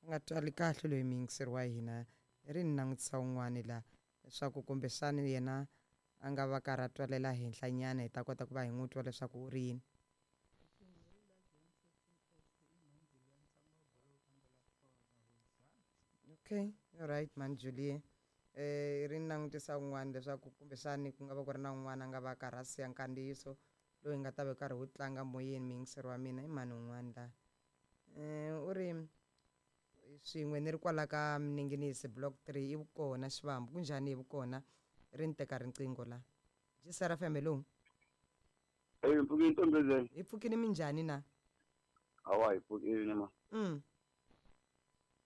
A nga twali kahle loyi muyingiseri wa hina. I ri ni langutisa un'wani la leswaku kumbexani yena a nga va karhi a twalela henhla nyana hi ta kota ku va hi n'wi twa leswaku u ri yini. Okay, alright man Julie. Ri ni langutisa un'wana leswaku kumbexani ku nga va ku ri na un'wana a nga va karhi a siya nkandziyiso lowu hi nga ta va karhi wu tlanga moyeni muyingiseri wa mina i mani un'wana la. U ri swin'we ni ri kwala ka Mninginisi block 3 i vukona Xivambu kunjhani hi vukona ri ni teka riqingho la. GCR FM hello. Hey, mpfukini ntombezeni. Hi pfukini minjhani na? Hawa hi pfukini ma.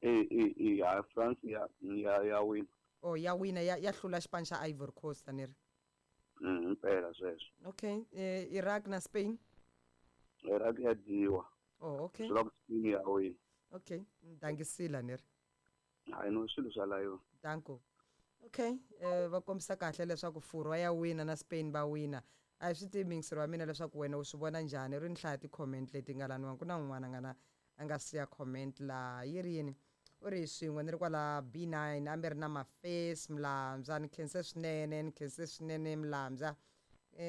E ya France ya wina. Oh ya wina ya hlula xipano xa Ivory Coast ni ri. Impela sweswo. Okay, Iraq na Spain. Iraq ya dyiwa. Oh okay. Swi ku Spain ya wina. Okay, dangisila ni ri. Hayi no swilo swa la yona. Danko. Okay, va kombisa kahle leswaku Furwa ya wina na Spain va wina. A hi swi tivi muyingiseri wa mina leswaku wena u swi vona njhani ri ni hlaya ti-comment leti nga laniwa ku na un'wana a nga na a nga siya comment la yi ri yini u ri swin'we ni ri kwala B9 a mi ri na Mafesi Mlambya ni khense swinene ni khense swinene Mlambya.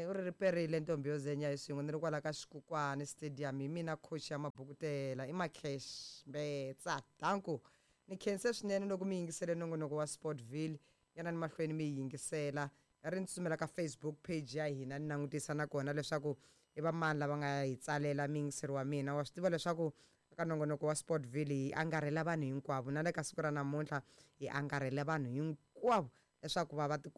U ri riperile ntombi yo zenya hi swin'we ni ri kwala ka Xikukwani Stadium hi mina coach ya Mabukutela i Macash Mbetsa danko ni khense swinene loko mi yingisele nongonoko wa Sportville yanani mahlweni mi yingisela ri ni tsutsumela ka Facebook page ya hina ni langutisa nakona leswaku i va mani lava nga hi tsalela muyingiseri wa mina wa swi tiva leswaku ka nongonoko wa Sportville hi angarhela vanhu hinkwavo na le ka siku ra namuntlha hi angarhela vanhu hinkwavo leswaku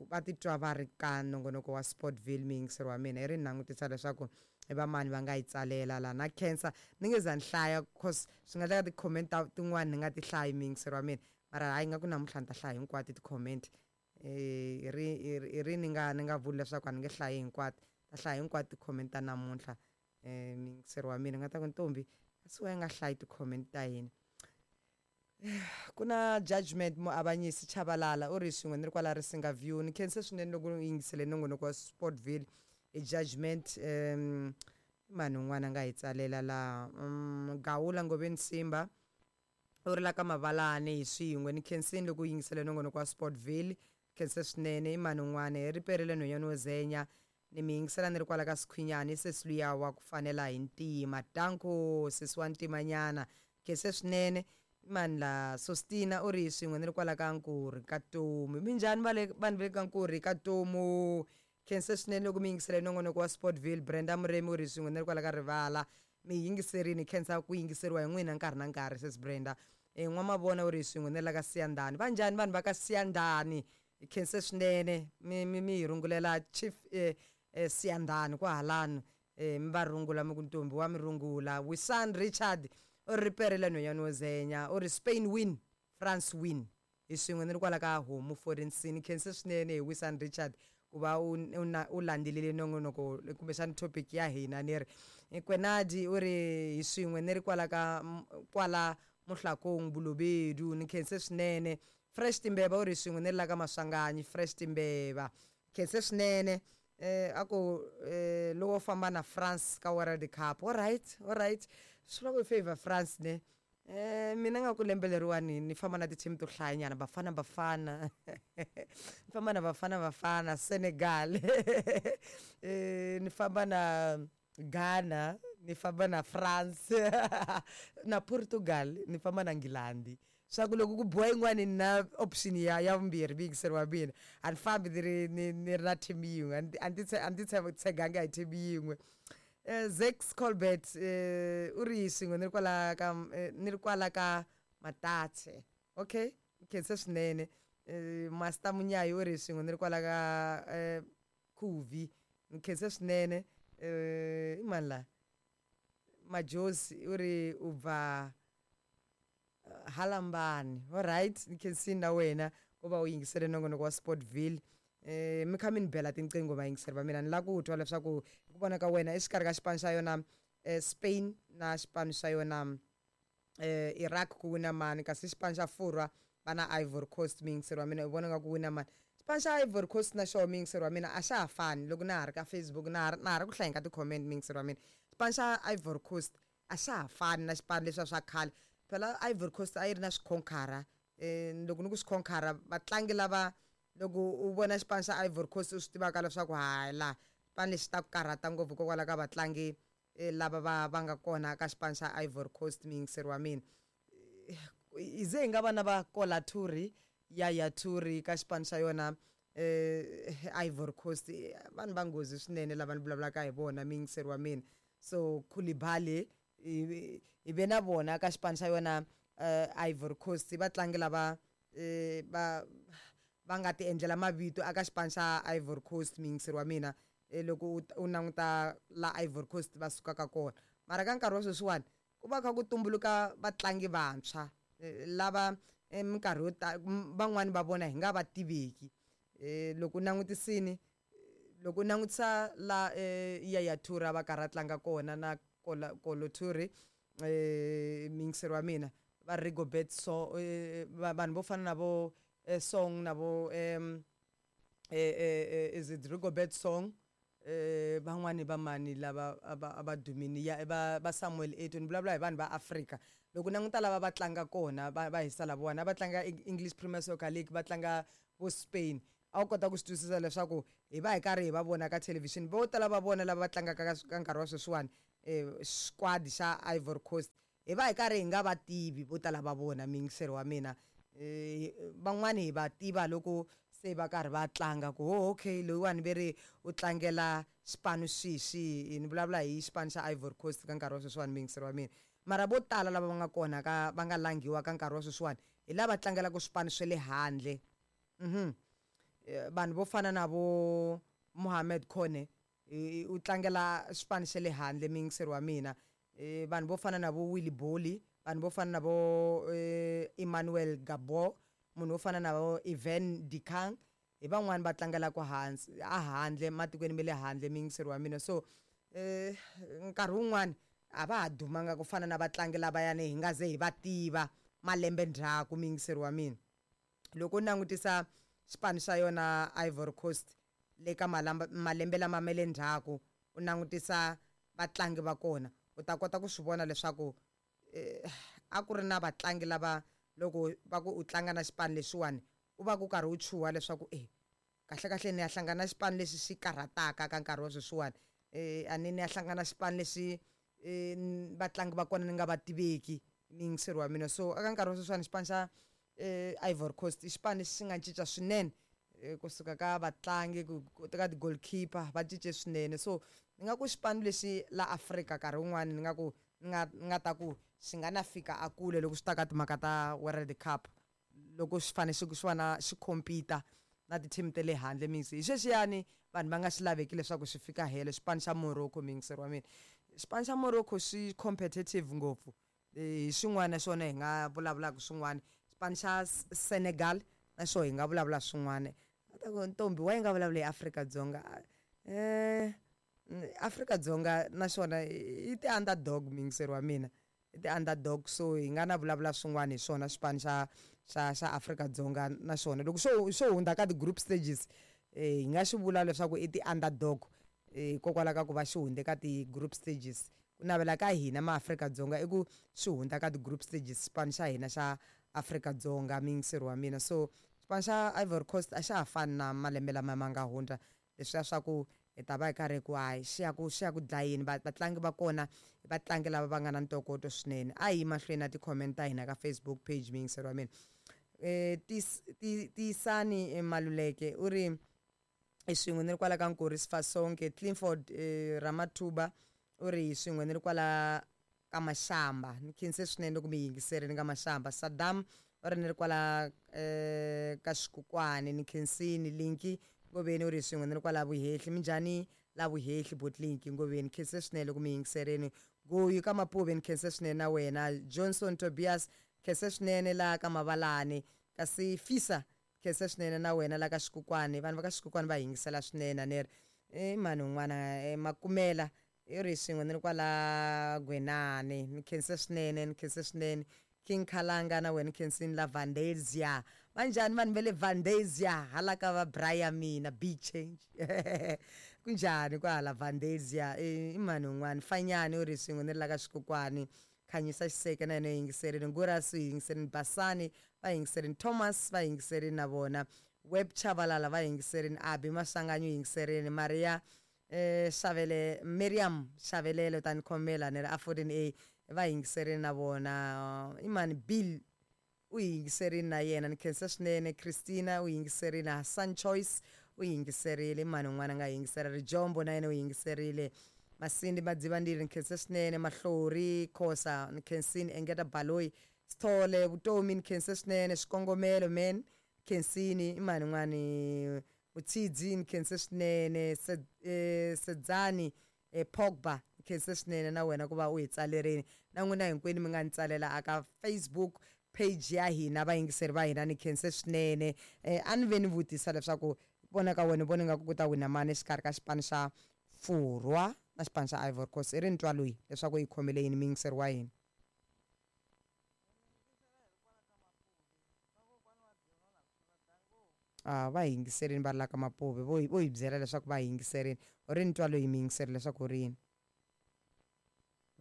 va titwa va ri ka nongonoko wa Sportville muyingiseri wa mina i ri ni langutisa leswaku i va mani va nga yi tsalela la na khensa ni nge za ni hlaya cause swi nga endleka ti-comment tin'wani ni nga ti hlayi muyingiseri wa mina mara hayi nga ku namuntlha ni ta hlaya hinkwato ti-comment. I ri ni nga vuli leswaku a ni nge hlayi hinkwato ta hlaya hinkwato ti-comment ta namuntlha muyingiseri wa mina nga ta ku ntombi kasi wa nga hlayi ti-comment ta hina. Ku na Judgment muavanyisi Chabalala u ri swin'we ni ri kwala Risinga View ni khense swinene loko u yingisele nongonoko wa Sportville i Judgment. Mani un'wana a nga hi tsalela la Gawula Ngoveni Simba u ri la ka Mavalani hi swin'we ni khensini loko u yingisele nongonoko wa Sportville khense swinene i mani un'wana hi riperile nhwanyana wo zenya ni mi yingisela ni ri kwala ka Sikhwinyani sesi luya wa ku fanela hi ntima danko sesi wa ntimanyana khense swinene mani la Sostina u ri swin'we ni ri kwala ka Nkurhi ka Tomu minjhani va le vanhu va le ka Nkurhi ka Tomu khense swinene loko mi yingisele nongonoko wa Sportville Brenda Muremi u ri swin'we ni ri kwala ka Rivala mi yingiserini khensa ku yingiseriwa hi n'wina nkarhi na nkarhi sesi Brenda. N'wamavona u ri swin'we ni la ka Siyandhani va njhani vanhu va ka Siyandhani khense swinene mi hi rungulela Chief Siyandhani kwahalano mi va rungula mi ku ntombi wa mi rungula. Wisan Richard u ri riperile nhwanyana wo zenya u ri Spain win France win hi swin'we ni ri kwala ka Homu Foreign khense swinene hi Wisan Richard ku va u landzelele nongonoko kumbexani topic ya hina ni ri Kwenadi u ri hi swin'we ni ri kwala ka kwala Muhlakong Bolobedu ni khense swinene Fresh Timbeva u ri swin'we ni ri la ka Maswanganyi Fresh Timbeva khense swinene a ku lowo famba na France ka World Cup alright alright swi vula ku favor France ne. Mina nga ku lembe leriwani ni famba na ti-team to hlayanyana Bafana Bafana ni famba na Bafana Bafana Senegal ni famba na Ghana ni famba na France na Portugal ni famba na Nghilandhi swa ku loko ku biwa yin'wani ni na option ya vumbirhi muyingiseri wa mina a ni fambi ni ri ni ri na team yin'we a ni ti tsheganga hi team yin'we. Zex Colbert u ri swin'we ni ri kwala ka ni ri kwala ka Matatse okay khense swinene Master Munyayi u ri swin'we ni ri kwala ka Khuvi ni khense swinene i mani la Majozi u ri u bva Halambani alright ni khensini na wena ku va u yingisele nongonoko wa Sportville. Mi kha mi ni bela tinqingho vayingiseri va mina ni lava ku twa leswaku hi ku vona ka wena exikarhi ka xipano xa yona Spain na xipano xa yona Iraq ku wina mani kasi xipano xa Furwa va na Ivory Coast muyingiseri wa mina u vona nga ku wina mani xipano xa Ivory Coast na xoho muyingiseri wa mina a xa ha fani loko na ha ri ka Facebook na ha ri ku hlayeni ka ti-comment muyingiseri wa mina xipano xa Ivory Coast a xa ha fani na xipano leswiya swa khale. Phela Ivory Coast a yi ri na swikhonkhara. Loko ni ku swikhonkhara, vatlangi lava loko u vona xipano xa Ivory Coast u swi tivaka leswaku hayi, la xipano lexi ta ku karhata ngopfu hikokwalaho ka vatlangi lava va nga kona ka xipano xa Ivory Coast. Muyingiseri wa mina, hi ze hi nga va na va Kola Toure, Yaya Toure ka xipano xa yona Ivory Coast, vanhu va nghozi swinene lava ni vulavulaka hi vona, muyingiseri wa mina. So Koulibaly hi ve na vona ka xipano xa yona Ivory Coast, vatlangi lava va nga ti endlela mavito aka xipano xa Ivory Coast, muyingiseri wa mina. Loko u languta la Ivory Coast va sukaka kona, mara ka nkarhi wa sweswiwani ku va kha ku tumbuluka vatlangi vantshwa lava minkarhi yo tala van'wani va vona hi nga va tiveki. Loko u langutisini, loko u langutisa la Yaya Toure a va karhi a tlanga kona na Kolo Toure, muyingiseri wa mina, va Rigobert, so vanhu vo fana na vo Song na vo is it Rigobert Song, van'wani va mani lava a va dumini ya va Samuel Eto'o. Ni vulavula hi vanhu va Afrika. Loko languta lava va tlanga kona, va hisa lavawani a va tlanga English Premier Soccer League, va tlanga vo Spain, a wu kota ku swi twisisa leswaku hi va hi karhi hi va vona ka thelevhixini. Vo tala va vona lava va tlangaka ka nkarhi wa sweswiwani squad xa Ivory Coast, hi va hi karhi hi nga va tivi vo tala va vona, muyingiseri wa mina. Van'wani hi va tiva loko se va karhi va tlanga, ku oh okay, loyiwani ve ri u tlangela xipano xihi xihi. Ni vulavula hi xipano xa Ivory Coast ka nkarhi wa sweswiwani, muyingiseri wa mina. Mara vo tala lava va nga kona ka va nga langhiwa ka nkarhi wa sweswiwani hi lava tlangelaka swipano swa le handle. Vanhu vo fana na vo Mohamed Kone u tlangela xipano xa le handle, muyingiseri wa mina. Vanhu vo fana na vo Willy Boly, vanhu vo fana na vo Emmanuel Gabo, munhu wo fana na vo Ivan Dikang, hi van'wani va tlangelaka hansi a handle, matikweni ma le handle, muyingiseri wa mina. So nkarhi wun'wani a va ha dumanga ku fana na vatlangi lavayani hi nga ze hi va tiva malembe ndzhaku, muyingiseri wa mina. Loko u langutisa xipano xa yona Ivory Coast le ka malembe lama ma le ndzhaku, u langutisa vatlangi va kona, u ta kota ku swi vona leswaku a ku ri na vatlangi lava loko va ku u tlanga na xipano lexiwani u va ku karhi u chuha leswaku kahle kahle ni ya hlangana na xipano lexi xi karhataka ka nkarhi wa sweswiwani, a ni ya hlangana na xipano lexi vatlangi va kona ni nga va tiveki, muyingiseri wa mina. So eka nkarhi wa sweswiwani xipano xa Ivory Coast i xipano lexi xi nga cinca swinene, kusuka ka vatlangi ku ka ti-goalkeeper va cince swinene. So ni nga ku xipano lexi la Afrika nkarhi wun'wani ni nga ku ni nga ta ku xi nga na fika a kule loko swi ta ka timhaka ta World Cup, loko xi fane xi xi va na xi compete na ti-team ta le handle mix. Hi xexiyani vanhu va nga xi laveki leswaku xi fika helo xipano xa Morocco, muyingiseri wa mina. Xipano xa Morocco xi competitive ngopfu, hi xin'wana xona hi nga vulavulaka swin'wana. Xipano xa Senegal na xona hi nga vulavula swin'wana. Ta ku ntombi wa yi nga vulavula hi Afrika-Dzonga. Afrika-Dzonga na xona i ti-underdog, muyingiseri wa mina, i ti-underdog. So hi nga na vulavula swin'wana hi swona xipano xa Afrika-Dzonga na xona loko xo hundza ka ti-group stages, hi nga xi vula leswaku i ti-underdog, hikokwalaho ka ku va xi hundze ka ti-group stages. Ku navela ka hina ma Afrika-Dzonga i ku xi hundza ka ti-group stages xipano xa hina xa Afrika-Dzonga, muyingiseri wa mina. So xipano xa Ivory Coast a xa ha fani na malembe lama ma nga hundza leswiya swa ku hi ta va hi karhi ku hayi xi ya ku dlayeni. Vatlangi va kona i vatlangi lava va nga na ntokoto swinene. A hi yi mahlweni na ti-comment ta hina ka Facebook page, muyingiseri wa mina. Tiyisani Maluleke u ri hi swin'we ni ri kwala ka Nkuri Sifasonke. Clifford Ramatuba u ri hi swin'we ni ri kwala ka Mashamba, ni khense swinene loko mi yingiserini ka Mashamba. Saddam u ri ni ri kwala ka Xikukwani, ni khensini. Linki Ngoveni u ri swin'we ni ri kwala Vuhehli, minjhani la Vuhehli Botlinki Ngoveni, khense swinene loko mi yingiserini. Goyi ka Mapuve, ni khense swinene na wena. Johnson Tobias, khense swinene la ka Mavalani. Kasi Fisa, khense swinene na wena la ka Xikukwani, vanhu va ka Xikukwani va yingisela swinene. A ni ri i mani un'wana, Makumela i ri swin'we ni ri kwala Gwenani, ni khense swinene, ni khense swinene. King Khalanga na wena khensini la Vandesia, vanjhani vanhu va le Vandesia hala ka va Brian mina big change, kunjhani kwahala Vandesia? I mani un'wana, Fanyani u ri swin'we ni ri la ka Xikukwani. Khanyisa Xiseke na yena u yingiserile, Ngurasi u yingiserile, Basani va yingiserile, Thomas va yingiserile na vona, Web Chavalala va yingiserile, Abi Maswanganyi u yingiserile, Maria Xavele, Miriam Xavelele u ta ni khomela ni ri a 14A va yingiserile na vona, i mani Bill u yingiserile na yena, ni khensa swinene, Christina u yingiserile, Hassan Choice u yingiserile, i mani un'wana a nga yingisela, Rijombo na yena u yingiserile, Masindi Madzivandile ni khensa swinene, Mahlori Khosa ni khensini, Engeta Baloyi, Sithole Vutomi ni khensa swinene, Xikongomelo man khensini, i mani un'wani Mutshidzi ni khense swinene, Sedzani Pogba ni khense swinene na wena ku va u hi tsalerini, na n'wina hinkwenu mi nga ni tsalela aka Facebook page ya hina vayingiseri va hina ni khense swinene. A ni ve ni vutisa leswaku vona ka wena u vona ingaku ku ta wina mani exikarhi ka xipano xa Furwa na xipano xa Ivory Coast, i ri ni twa loyi leswaku yi khomele yini muyingiseri wa hina. A va yingiserini va ri la ka Mapuve, vo vo hi byela leswaku va yingiserini. U ri ni twa loyi muyingiseri leswaku u ri yini.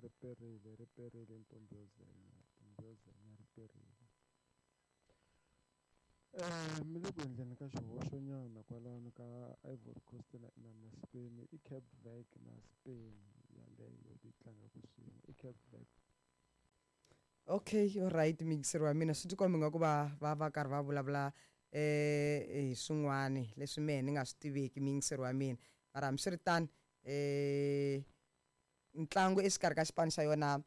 Ri perile, ri perile ntombi yo zenya, ntombi yo zenya ri perile. Mi le ku endleni ka xihoxo nyana kwalano ka Ivory Coast na na na Spain i Cape Verde na Spain yaleyo ti tlangaka swin'we i Cape Verde. Okay, alright muyingiseri wa mina swi tikomba ingaku va va va karhi va vulavula hi swin'wani leswi mehe ni nga swi tiveki muyingiseri wa mina, mara hambiswiritano ntlangu exikarhi ka xipano xa yona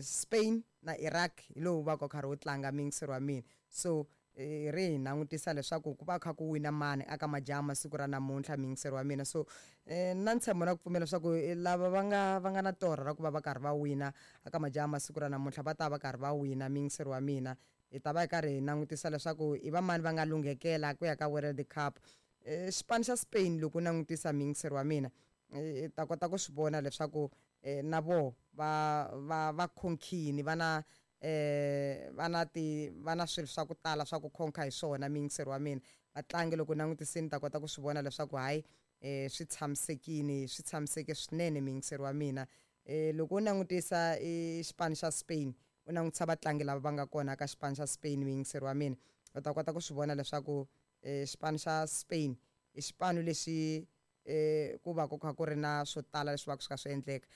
Spain na Iraq hi lowu va ka wu karhi wu tlanga muyingiseri wa mina. So ri hi langutisa leswaku ku va kha ku wina mani aka majaha masiku ra namuntlha muyingiseri wa mina. So na ntshembo na ku pfumela leswaku lava va nga va nga na torha ra ku va va karhi va wina aka majaha masiku ra namuntlha va ta va karhi va wina muyingiseri wa mina. Hi ta va hi karhi hi langutisa leswaku i va mani va nga lunghekela ku ya ka World Cup. Xipano xa Spain loko u langutisa muyingiseri wa mina i ta kota ku swi vona leswaku na voho va va va khonkhini va na va na ti va na swilo swa ku tala swa ku khonka hi swona muyingiseri wa mina. Vatlangi loko u langutisini u ta kota ku swi vona leswaku hayi swi tshamisekini swi tshamiseke swinene muyingiseri wa mina. Loko u langutisa i xipano xa Spain u langutisa vatlangi lava va nga kona ka xipano xa Spain muyingiseri wa mina u ta kota ku swi vona leswaku xipano xa Spain i xipano lexi ku va ku kha ku ri na swo tala leswi va ku swi kha swi endleka.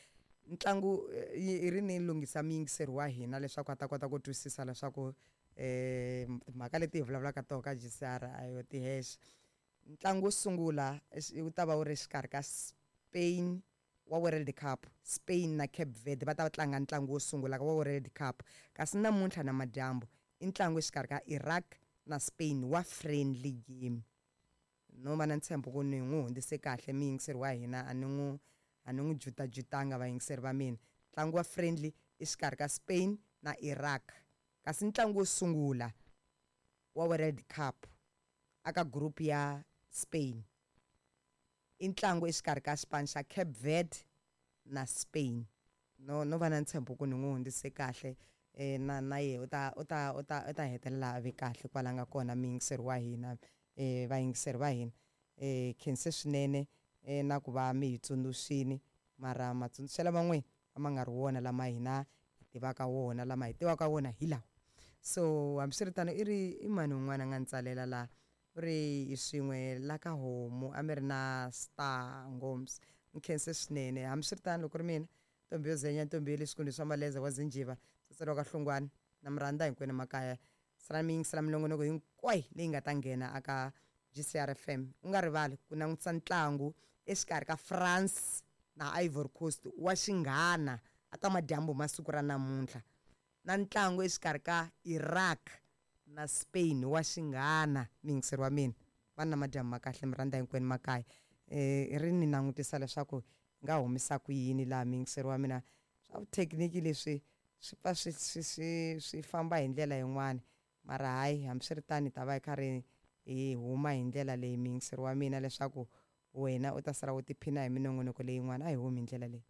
Ntlangu i ri ni lunghisa muyingiseri wa hina leswaku a ta kota ku twisisa leswaku timhaka leti hi vulavulaka toho ka G_C_R a yo ti hexe. Ntlangu wo sungula wu ta va wu ri exikarhi ka Spain wa World Cup, Spain na Cape Verde va ta va tlanga ntlangu wo sungula wa World Cup, kasi namuntlha namadyambu i ntlangu exikarhi ka Iraq na Spain wa friendly game. No va na ntshembo ku ni n'wi hundzise kahle muyingiseri wa hina a ni n'wi a ni n'wi jutajutanga vayingiseri va mina. Ntlangu wa friendly i xikarhi ka Spain na Iraq, kasi ntlangu wo sungula wa World Cup aka group ya Spain i ntlangu exikarhi ka xipano xa Cape Verde na Spain. No no va na ntshembo ku ni n'wi hundzise kahle na na yehe u ta u ta u ta u ta hetelela a ve kahle kwala nga kona muyingiseri wa hina vayingiseri va hina. Khense swinene na ku va mi hi tsundzuxini mara matsundzuxelo ma n'wina a ma nga ri wona lama hina hi tivaka wona, lama hi tivaka wona hi lawa. So hambiswiritano i ri i mani un'wana a nga ni tsalela la u ri hi swin'we la ka homu a mi ri na star ngoms, ni khense swinene. Hambiswiritano loko ku ri mina ntombi yo zenya ntombi ya le swikundu swa Maleza wa Zinjiva Tsotselo wa ka Hlongwane na mi rhandza hinkwenu makaya. Salani mi yingisela minongonoko hinkwayo leyi nga ta nghena aka G_C_R F_M. U nga rivali ku langutisa ntlangu exikarhi ka France na Ivory Coast wa xinghana aka madyambu ma siku ra namuntlha, na ntlangu exikarhi ka Iraq na Spain wa xinghana. Muyingiseri wa mina va ni na madyambu ma kahle mi rhandza hinkwenu makaya. Ri ni langutisa leswaku hi nga humisa ku yini laha muyingiseri wa mina, swa vuthekiniki leswi swi pfa swi swi swi swi famba hi ndlela yin'wani, mara hayi hambiswiritano hi ta va hi karhi hi huma hi ndlela leyi muyingiseri wa mina leswaku wena u ta sala u tiphina hi minongonoko leyin'wana. A hi humi hi ndlela leyi.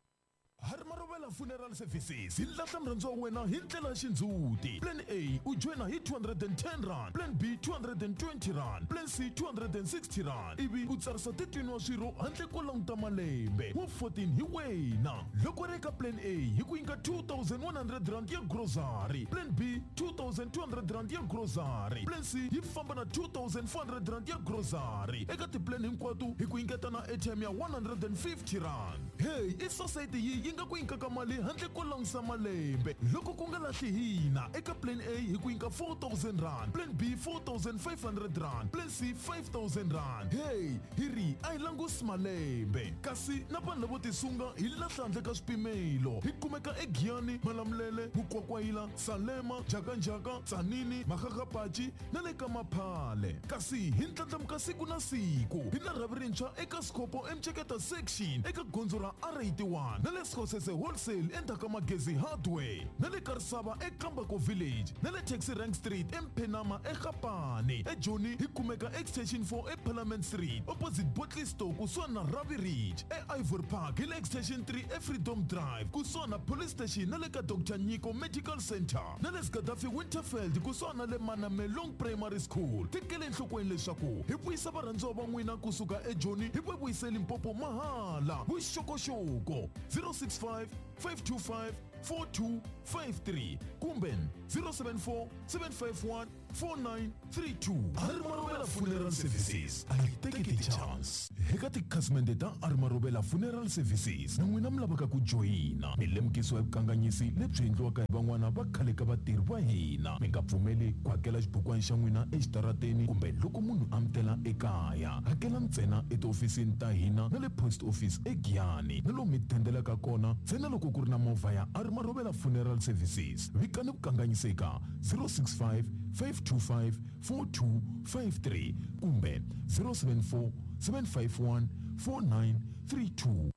Hari Maruvela. Marobela Funeral Services hi lahla murhandziwa wa wena hi ndlela ya xindzhuti. Plan A u joyina hi 210 rand, Plan B 220 rand, Plan C 260 rand, ivi u tsarisa 13 wa swirho handle ko languta malembe. Wa 14 hi wena. Loko ri eka Plan A hi ku nyika 2100 rand ya grocery, Plan B 2200 rand ya grocery, Plan C yi famba na 2400 rand ya grocery. Eka tiplan hinkwato hi ku nyiketa na airtime ya 150 rand. Hey, i society yi yi nga ku nyikaka mali handle ko langusa malembe. Loko ku nga lahli hina, eka Plan A hi ku nyika 4000 rand, Plan B 4500 rand, Plan C 5000 rand. Hey, hi ri a hi langusi malembe. Kasi na vanhu lavo tisunga hi lahla handle ka swipimelo. Hi kumeka eGiyani, Malamulele, Mukwakwayila, Salema, Njhakanjhaka, Tzaneen, Makgakgapachi na le ka Maphale. Kasi hi ndlandlamuka siku na siku. Hi na rhavi rintshwa eka Skhopho eMceketa section eka gondzo ra R81 na le Sekgosese wholesale endzhaku ka Magezi Hardware na le Karisava eKambako Village na le Taxi Rank Street eMphenama eGapane. eJoni hi kumeka Extension 4 eParliament Street opposite Bottle Store kusuhani na Ravi Ridge. E-Ivory Park hi le Extension 3 eFreedom Drive kusuhani na Police Station na le ka Dr Nyiko Medical Center na le Gaddafi Winterfeld kusuhani na le Manamelong Primary School. Tekele enhlokweni leswaku hi vuyisa varhandziwa va n'wina kusuka eJoni hi va vuyise Limpopo mahala. Vuxokoxoko 065 525 4253 kumbe 074 751 4932. Arimarobela Funeral Services a yi teki ti-chance. Eka tikhasimende ta Arimarobela Funeral Services na n'wina mi lavaka ku joyina, mi lemukisiwa hi vukanganyisi lebyi endliwaka hi van'wana va khale ka vatirhi va hina. Mi nga pfumeli ku hakela xibukwana xa n'wina exitarateni kumbe loko munhu a mi tela ekaya. Hakela ntsena etihofisini ta hina na le post office eGiyani na lomu mi dendelaka kona ntsena loko ku ri na movha ya Arimarobela Funeral Services. Vikani vukanganyisi eka 065 525 4253 kumbe 074 751 4932.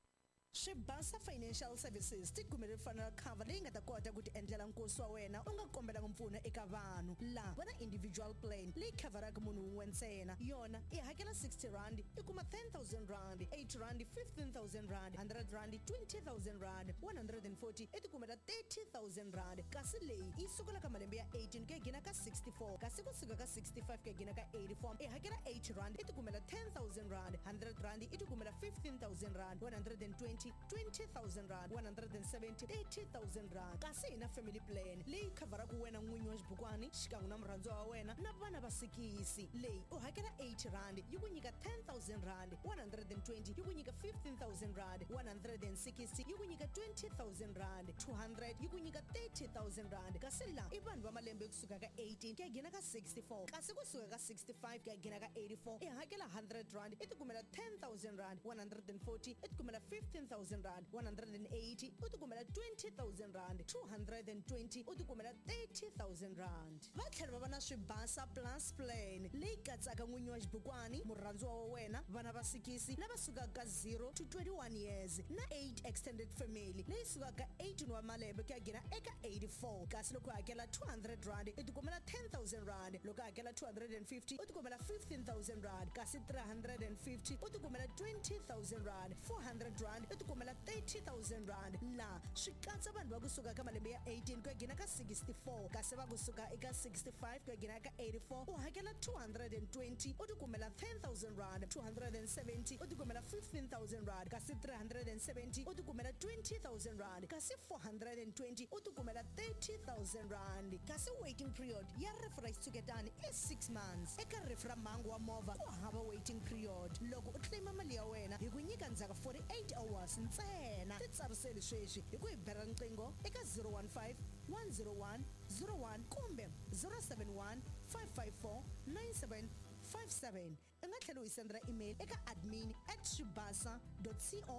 Swibasa Financial Services ti kumele funeral cover leyi nga ta kota ku ti endlela nkosi wa wena u nga kombelanga mpfuno eka vanhu. Laha va na individual plan leyi khavharaka munhu wun'we ntsena. Yona i hakela 60 rand i kuma 10000 rand, 8 rand 15000 rand, 100 rand 20000 rand, 140 i ti kumela 30000 rand. Kasi leyi yi sukela ka malembe ya 18 ku ya gina ka 64, kasi kusuka ka 65 ku ya gina ka 84 i hakela 8 rand i ti kumela 10000 rand, 100 rand i ti kumela 15000 rand, 120 20000 rand, 170 30000 rand. Kasi hi na family plan leyi khavharaka wena n'winyi wa xibukwani xikan'we na murhandziwa wa wena na vana va sikisi. Leyi u hakela 8 rand yi ku nyika 10000 rand, 120 yi ku nyika 15000 rand, 160 yi ku nyika 20000 rand, 200 yi ku nyika 30000 rand. Kasi laha i vanhu va malembe kusuka ka 18 ku ya gina ka 64, kasi kusuka ka 65 ku ya gina ka 84 i hakela 100 rand i tikumela 10000 rand, 140 i tikumela 15000 rand, 180 u tikumela 20000 rand, 220 u tikumela 30000 rand. Va tlhela va va na Swibasa Plus Plan leyi katsaka n'winyi wa xibukwani, murhandziwa wa wena, vana va sikisi lava sukaka ka 0 to 21 years na 8 extended family leyi sukaka ka 18 wa malembe ku ya gina eka 84. Kasi loko u hakela 200 rand i tikumela 10000 rand, loko u hakela 250 u tikumela 15000 rand, kasi 350 u tikumela 20000 rand, 400 rand i tikumela 30000 rand. Laha swi katsa vanhu va kusuka ka malembe ya 18 ku ya gina ka 64, kasi va kusuka eka 65 ku ya gina ka 84 u hakela 220 u tikumela 10000 rand, 270 u tikumela 15000 rand, kasi 370 u tikumela 20000 rand, kasi 420 u tikumela 30000 rand. Kasi waiting period ya rifu ra xitshuketani i 6 months. Eka rifu ra mhangu wa movha ku hava waiting period. Loko u claima mali ya wena hi ku nyika ndzhaku 48 hours ntsena. Titsariseli sweswi hi ku hi bela riqingho eka 015 101 01 kumbe 071 554 9757. U nga tlhela u hi sendela email eka admin at swibasa co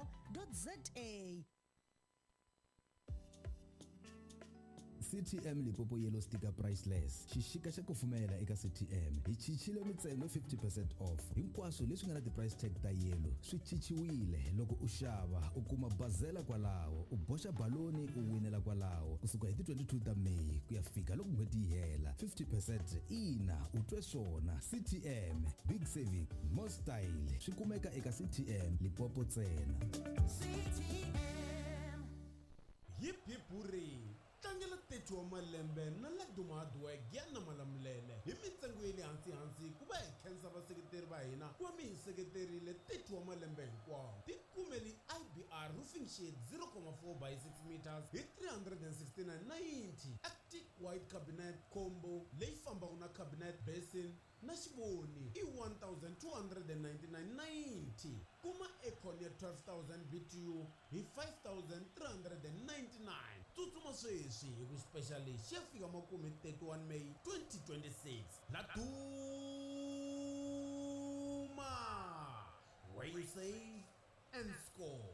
za. CTM Limpopo Yellow Sticker Priceless. Xixika xa kufumela eka CTM. Hi chichile mintsengo 50% off. Hinkwaswo leswi nga na ti-price tag ta yellow swi chichiwile. Loko u xava u kuma bazela kwalaho, u boxa baloni u winela kwalaho. Kusuka hi ti-22 ta Meyi ku ya fika loko n'hweti yi hela. 50% ina, u twe swona. CTM, big saving, more style. Swi kumeka eka CTM Limpopo ntsena. Hip hip hurray! Tlangela 30 wa malembe na Laduma Hardware Giyani na Malamulele hi mintsengo ya le hansi-hansi ku va hi khensa vaseketeri va hina ku va mi hi seketerile 30 wa malembe hinkwawo. Tikumeli IBR Roofing Sheet 0,4 by 6 meters hi 369.90, Arctic White Cabinet Combo leyi fambaka na cabinet basin na xivoni i 1299.90. Kuma aircon ya 12000 BTU hi 5399. Tsutsuma sweswi hi ku special lexi xi ya fika makumu hi 31 May 2026. Laduma, where you save and score.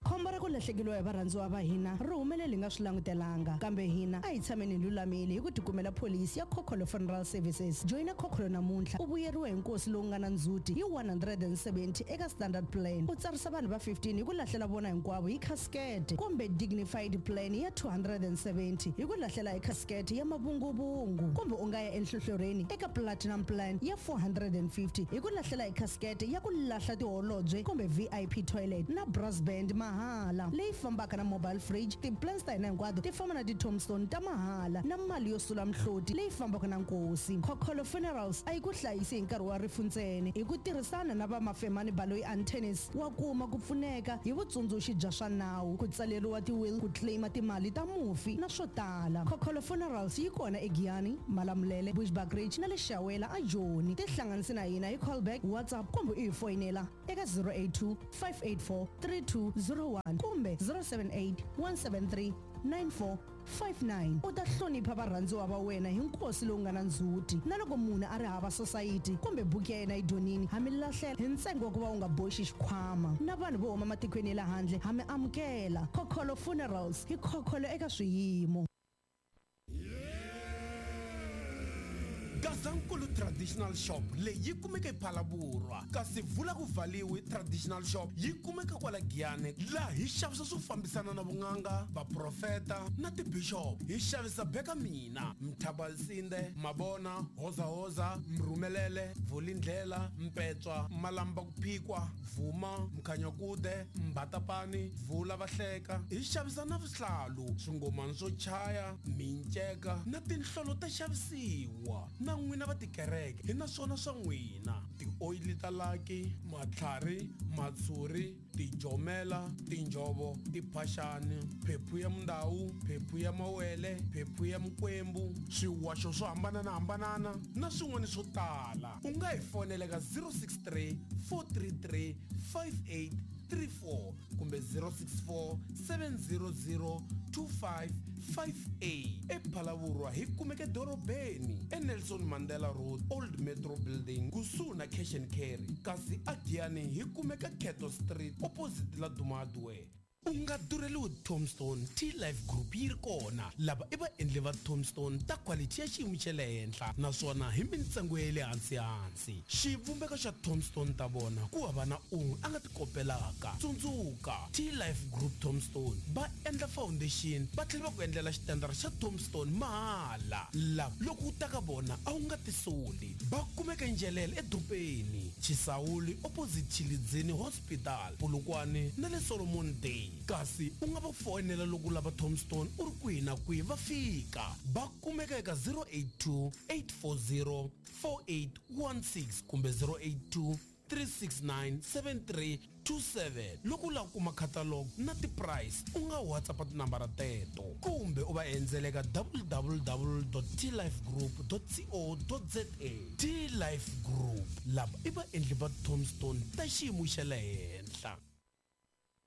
Khombo ra ku lahlekeriwa hi varhandziwa va hina ri humelele hi nga swi langutelanga, kambe hina a hi tshameni hi lulamile hi ku tikumela pholisi ya Khokholo Funeral Services. Joyina Khokholo namuntlha u vuyeriwa hi nkosi lowu nga na ndzhuti hi 170 eka Standard Plan, u tsarisa vanhu va 15 hi ku lahlela vona hinkwavo hi khasikete, kumbe Dignified Plan ya 270 hi ku lahlela hi khasikete ya mavunguvungu, kumbe u nga ya enhlohlorhini eka Platinum Plan ya 450 hi ku lahlela hi khasikete ya ku lahla tiholobye kumbe VIP toilet na brass band mahala leyi fambaka na mobile fridge. Ti-plans ta hina hinkwato ti famba na ti-tombstone ta mahala na mali yo sula mihloti leyi fambaka na nkosi. Khokholo Funerals a yi ku hlayisi hi nkarhi wa rifu ntsena. Hi ku tirhisana na va Mafemani Baloyi Antennis wa kuma ku pfuneka hi vutsundzuxi bya swa nawu, ku tsaleriwa ti-will, ku claima timali ta mufi na swo tala. Khokholo Funerals yi kona eGiyani, Malamulele, Bushbuckridge na le Shawela aJoni. Tihlanganisi na hina hi callback, WhatsApp kumbe u hi foyinela eka 082 584 3201 kumbe 078 173 9459. U ta hlonipha varhandziwa va wena hi nkosi lowu nga na ndzhuti. Na loko munhu a ri hava sosayiti kumbe buku ya yena yi dyonini, ha mi lahlela hi ntsengo wa ku va u nga boxi xikhwama. Na vanhu vo huma matikweni ya le handle ha mi amukela. Khokholo Funerals, hi khokholo eka swiyimo. Gazankulu Traditional Shop leyi yi kumeka ePhalaborwa, kasi Vula ku Valiwi Traditional Shop yi kumeka kwala Giyani, laha hi xavisa swo fambisana na vun'anga, vaprofeta na tibishop. Hi xavisa beka mina, mthabalsinde, mabona, hozahoza, mrhumelele, vulindlela, mpetswa, malamba ku phikwa, vuma, mkhanyakude, mbatapani, vula vahleka. Hi xavisa na vuhlalu, swingomani swo chaya, minceka na tinhlolo ta xavisiwa. Na n'wina va tikereke hi na swona swa n'wina, tioyili ta laki, matlhari, matshuri, tijomela, tinjhovo, tiphaxani, phephu ya mundawu, phephu ya mawele, phephu ya mikwembu, swiwaxo swo hambananahambanana na swin'wana swo tala. U nga hi fonela ka 063 433 5834 kumbe 064 700 2558. ePhalavurwa hi kumeka edorobeni eNelson Mandela Road, Old Metro Building, kusuhi na Cash and Carry, kasi aGiyani hi kumeka Cato Street opposite la Duma Hardware. U nga durheliwi tombstone, T-Life Group yi ri kona. Lava i vaendli va tombstone ta quality ya xiyimo xa le henhla naswona hi mintsengo ya le hansihansi. Xivumbeko xa tombstone ta vona ku hava na un'we a nga ti kopelaka. Tsundzuka, T-Life Group Tombstone va endla foundation va tlhela va ku endlela xitandara xa tombstone mahala. Lava loko u ta ka vona a wu nga tisoli. Va kumeka Njelele edorobeni, Chisawuli opposite Tshilidzini Hospital, Polokwane na le Solomon Day. Kasi u nga va foyinela loko u lava tombstone u ri kwihi na kwihi va fika. Va kumeka eka 082 840 4816 kumbe 082 369 7327. Loko u lava ku kuma catalog na ti-price u nga WhatsApp tinambara teto kumbe u va endzela eka www.tlifegroup.co.za. T-Life Group, lava i vaendli va tombstone ta xiyimo xa le henhla.